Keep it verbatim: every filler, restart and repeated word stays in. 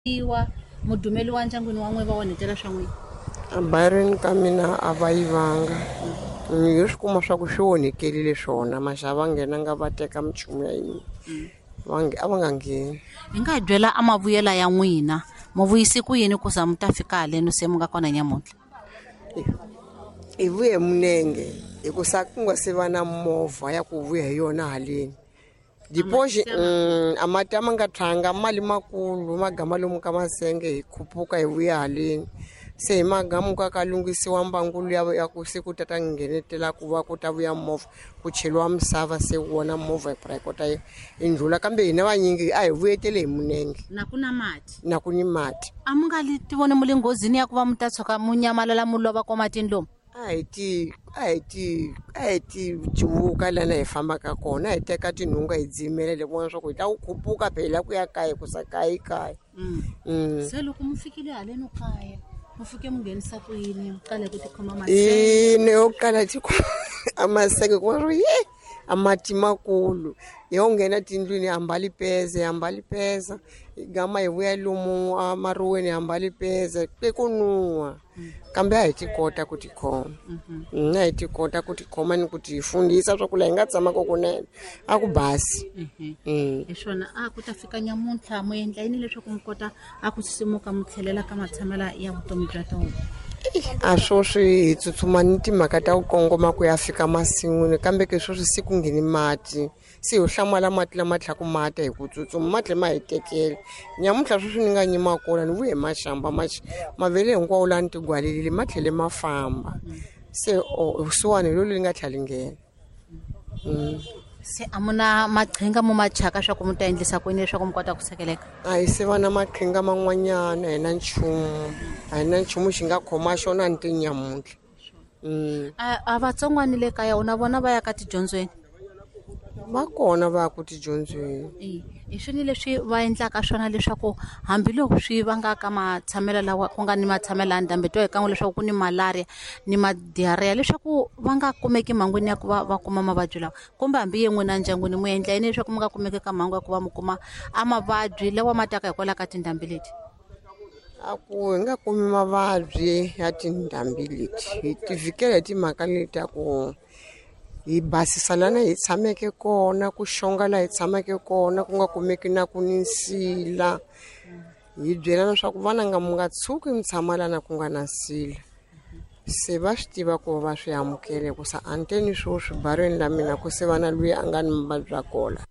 Yiwa mudumeli wa ndyangwini wa n'we va onhetela swa n'wina? Abayirweni ka mina a va yivanga. Ni yo swi kuma swa ku swi onhekelile swona maxa va nghenanga va teka minchumu ya hina. Va a va nga ngheni. Hi nga hi byela a mavuyela ya n'wina, mu vuyisi ku yini ku za mu ta fika haleno se mu nga kona nyamuntlha? Hi vuye minenge hi ku sa ku nga se va na movha ya ku vuya hi yona haleni. Dipoxi a mati a ma nga tshwanga mali makulu ma gama lomu ka masenge hi khupuka hi vuya haleni. Se hi magamuka ka lunghisiwa mbangu ya ya ku se ku ta ta nghenetela ku va ku ta vuya movha ku cheliwa misava se wona movha hi kota yi ndlhula kambe hina vanyingi a hi vuyetele hi minenge. Na ku na mati? Na ku ni mati. A mu nga li tivoni mu le nghozini ya ku va mu ta tshuka mu nyamalala mu lova ko matini lomu? A hi ti a hi ti a hi ti cuvuka lana hi fambaka kona, a hi teka tinhunga hi dzimela le vona swa ku hi ta ku khupuka phela ku ya kaya ku sa kaya kaya. Se loko mu fikile haleno kaya mu fike mu nghenisa ku yini, mu qale ku tikhoma masenge? Ina yo qala tikhoma a masenge ku va ye a mati makulu yo nghena tindlwini hi ambali peze hi ambali peza hi gama hi vuya lomu amaruweni hi ambali peze ke ku nuwa kambe a hi ti kota ku tikhoma. A hi ti kota ku tikhoma ni ku ti fundisa swa ku laha hi nga tshamaka kunene a ku basi. Hi swona a ku ta fika nyamuntlha mu endla yini leswaku mu kota a ku sisimuka mu tlhelela ka matshamelo ya vutomi bya tona? A swoswi hi tsutsuma ni timhaka ta ku kongoma ku ya fika masin'wini kambe ke swoswi se ku ngheni mati se ho hlamala mati lama tlhaku mata hi ku tsutsuma ma tlhe ma hi tekela. Nyamuntlha sweswi ni nga nyima kona ni vuye maxamba mavele hinkwawo laha ni tigwalelile ma tlhele ma famba se vusiwana hi lolu li nga tlhela li nghena. Se a mu na maqhinga mo ma chaka swa ku mu ta endlisa ku yini leswaku mu kota ku sekeleka? A hi se va na maqhinga man'wanyana, a hi na nchumu, a hi na nchumu xi nga khoma xona ni ti nyamuntlha. A vatsongwana le kaya na vona va ya ka tidyondzweni? Va kona va ya ku tidyondzweni. Hi swini leswi va endlaka swona leswaku hambiloko swi vangaka matshamelo lawa ku nga ni matshamelo ya ndhambi twa hi kan'we leswaku ku ni malaria ni ma-diarrhea leswaku va nga kumeki mhangwini ya ku va va kuma mavabyi lawa, kumbe hambi ye n'wina ndyangwini mu endla yini leswaku mu nga kumeki ka mhangu ya ku va mu kuma a mavabyi lawa ma taka hikwalaho ka tindhambi leti? A ku hi nga kumi mavabyi ya tindhambi leti hi ti vhikela hi timhaka leti ta ku hi basisa lana hi tshameke kona, ku xonga laha hi tshameke kona, ku nga kumeki na ku ni nsila. Hi byelana swa ku vana nga mu nga tshuki mi tshama lana ku nga na nsila. Se va swi tiva ku va swi amukele ku sa anteni swoswi barweni la mina ku se va na luya a nga ni mavabyi ya kola.